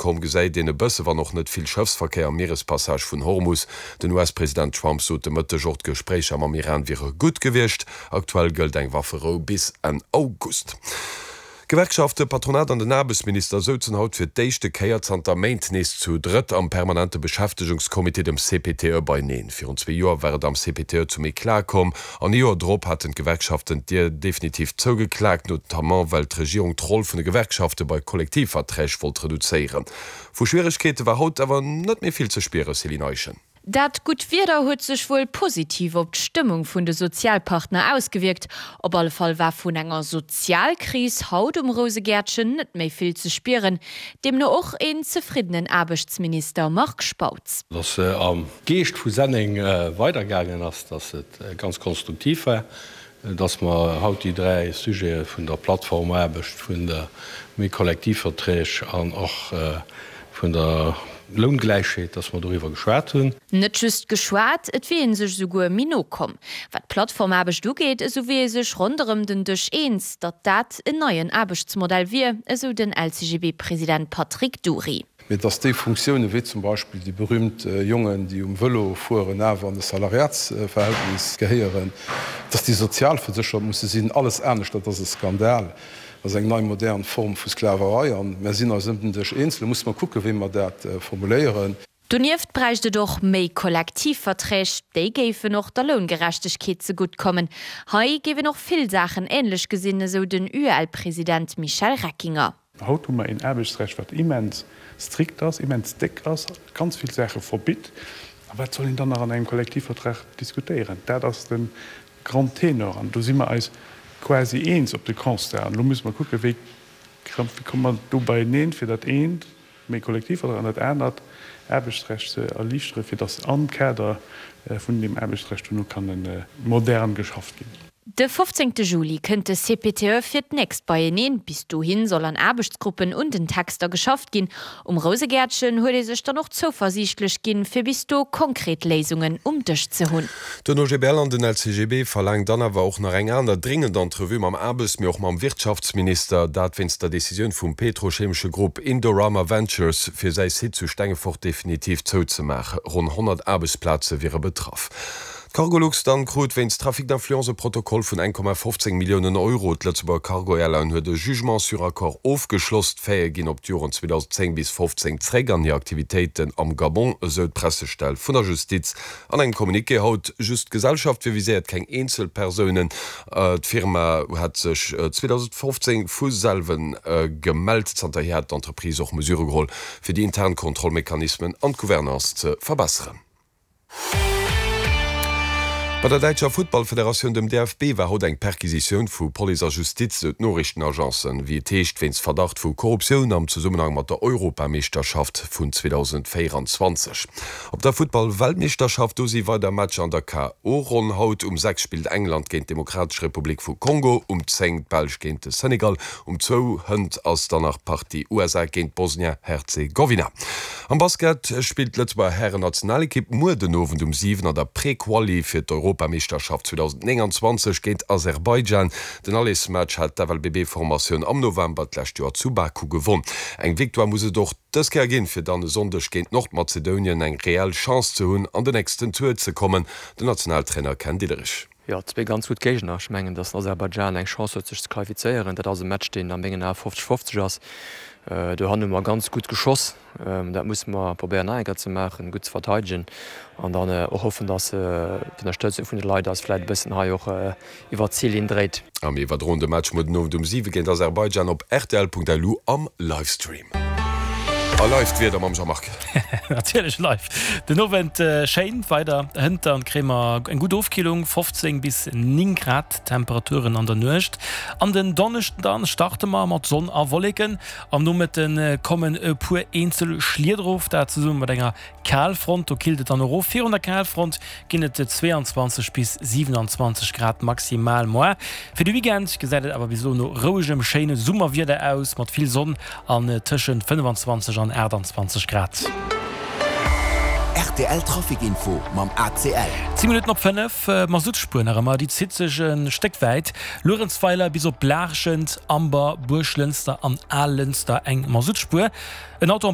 komm, gesäit een e bësse wann och net vill Schëffsverkéier am Mierespassage vun Hormus. Den US-President Trump sot de Mëtteg och, d'Gespréicher mam Iran wiere gutt gewiescht. Aktuell gëllt eng Wafferou bis Enn August. D'Gewerkschafte, Patronat an den Aarbechtsminister souzen haut fir d'éischte Kéier zanter Méint nees zu drëtt am permanente Beschäftegungscomité, dem CPTE, beineen. Virun zwee Joer war et am CPTE zum Eclat komm an ee Joer drop haten d'Gewerkschaften d'Dier definitiv zougeklaakt, notamment well d'Regierung d'Roll vun de Gewerkschafte bei Kollektivverträg wollt reduzéieren. Vu Schwieregkeete war haut awer net méi vill ze spieren, Céline Eischen. Dat gutt Wieder huet sech wuel positiv op d'Stëmmung vun de Sozialpartner ausgewierkt. Op alle Fall war vun enger Sozialkris haut um Rousegäertchen net méi vill ze spieren. Deemno och een zefriddenen Aarbechtsminister Marc Spautz. Dass se am Geescht vu Senneng weidergaangen ass, dass et ganz konstruktiv war, dass mer haut déi 3 Sujete vun der Plattformaarbecht, vun der méi Kollektivverträg an och vun der Loungläichheet, dass mer doriwwer geschwat hunn. Net just geschwat, et wier ee sech esouguer méi no komm. Wat d'Plattformaarbecht ugeet, esou wier ee sech ronderëm den Dësch eens, datt dat en neien Aarbechtsmodell wier, esou den LCGB-President Patrick Dury. Mee dass déi Funktiounen, wéi zum Beispill déi berühmt Jongen, déi um Vëlo fueren, awer an e Salariatsverhältnis gehéieren, dass déi sozialverséchert musse sinn, alles anescht, dat ass e Skandal, dat ass eng nei modern Form vu Sklaverei. A mär sinn eis ëm den Dësch eens. Elo musse mer kucken, wéi mer dat formuléieren. Donieft bräicht et och méi Kollektivverträg, déi géifen och der Loungerechtegkeet zegutt kommen. Hei géif een och vill Saachen änlech gesinn, esou den UEL-President Michel Reckinger. Haut hu mer een Aarbechtsrecht, wat immens strikt ass, immens déck ass, ganz vill Saache verbitt. A wat soll een dann nach an engem Kollektivvertrag diskutéieren? Dat ass de grand Tenor. An do si mer eis quasi eens op de Constat. An elo musse mer kucken, wéi komme mer do beieneen, fir dat eent, méi Kollektivvertrag, an dat anert, Aarbechtsrecht, ze erliichteren, fir datt am Kader vun deem Aarbechtsrecht duerno kann modern geschafft ginn. De 15 Juli kënnt de CPTE fir d'nächst beieneen. Bis dohin soll an Aarbechtsgruppen un den Texter geschafft ginn. Um Rousegäertchen huet ee sech dann och zouversiichtlech ginn, fir bis do konkret Léisungen um Dësch ze hunn. Den OGBL an den LCGB verlaangen dann awer och nach eng aner dringend Entrevue mam Aarbechts-, mee och mam Wirtschaftsminister. Dat wéinst der Decisioun vum petrochemesche Grupp Indorama Ventures, fir säi Site zu Stengefort definitiv zouzemaachen. Ronn 100 Aarbechtsplaze wiere betraff. D'Cargolux dann krut wéinst Trafic d'influence e Protokoll vun 1,15 Milliounen Euro. D'Lëtzebuerger Cargo Airline huet e Jugement sur accord ofgeschloss. D'Faite ginn op d'Joren 2010 bis 15 zréck an hir Aktivitéiten am Gabon, esou d'Pressestell vun der Justiz an engem Communiqué haut. Just d'Gesellschaft wier viséiert, keng Eenzelpersounen. D'Firma hat sech 2015 vu selwen gemellt. Zanterhier hat d'Entreprise och Mesure geholl, fir déi intern Kontrollmechanismen an d'Gouvernance ze verbesseren. Bei der däitscher Futtballfederatioun, dem DFB, war haut eng Perquisitioun vu Police a Justiz, sou d'Noriichtenagencen. Wéi et heescht, wéinst Verdacht vu Korruptioun am Zesummenhang mat der Europameeschterschaft vun 2024. Op der Futtball-Weltmeeschterschaft, do si weider Matcher an der KO-Ronn. Haut um 6 spillt England géint d'Demokratesch Republik vu Kongo, um 10 d'Belsch géint de Senegal, Um zwou hënt ass dann nach d'Partie USA géint Bosnia-Herzegowina. Am Basket spillt d'Lëtzebuerger Hären-Nationalekipp muer den Owend um 7 an der Pré-Quali fir d'Europameeschterschaft 2029 géint Aserbaidschan. Den Allesmatch hat d'FLBB-Formatioun am November d'lescht Joer zu Baku gewonn. Eng Victoire muss et och dës Kéier ginn, fir dann e Sonndeg géint Nordmazedonien eng reell Chance ze hunn, an den nächsten Tour ze kommen. Den Nationaltrainer Ken Diederich. Jo, zwee ganz gutt Géigner. Ech mengen, datt den Aserbaidschan eng Chance huet sech ze qualifizéieren. Dat ass e Match, deen a mengen Ae 50, 50 ass. Dohannen hu mer ganz gutt geschoss. Dat musse mer probéieren nach eng Kéier ze maachen, gutt ze verteidegen an dann och hoffen, datt d'Ënnerstëtzung vun de Leit eis vläicht e bëssen hei och iwwert d'Zillinn dréit. A mir iwwerdroen de Match muer den Owend um 7 géint Aserbaidschan op rtl.lu am Livestream. A live d'Wieder mam Jean-Marc. Natierlech live. Den Owend schéin weider hënt dann kréie mer eng gutt Ofkillung, 15 bis 9 Grad Temperaturen an der Nuecht. An den Donneschden dann starte mer mat Sonn a Wolleken. Am Nomëtte kommen e puer eenzel Schlieder of, dat zesumme mat enger Kalfront, do killt et dann erof. Virun der Kalfront ginn et 22 bis 27 Grad maximal. Moar fir de Weekend gesäit et awer bis elo no rouegem, schéine Summerwieder aus, mat vill Sonn an tëschent 25 an 28 Grad. Rtl Trafic Info mam ACL. 10 Minutten op 5, Masuttspuer nach ëmmer, déi zitt sech e Stéck wäit. Luerenzweiler bis op Laarschent, Amber, Buerglënster an Allënster eng Masuttspuer. En Auto en.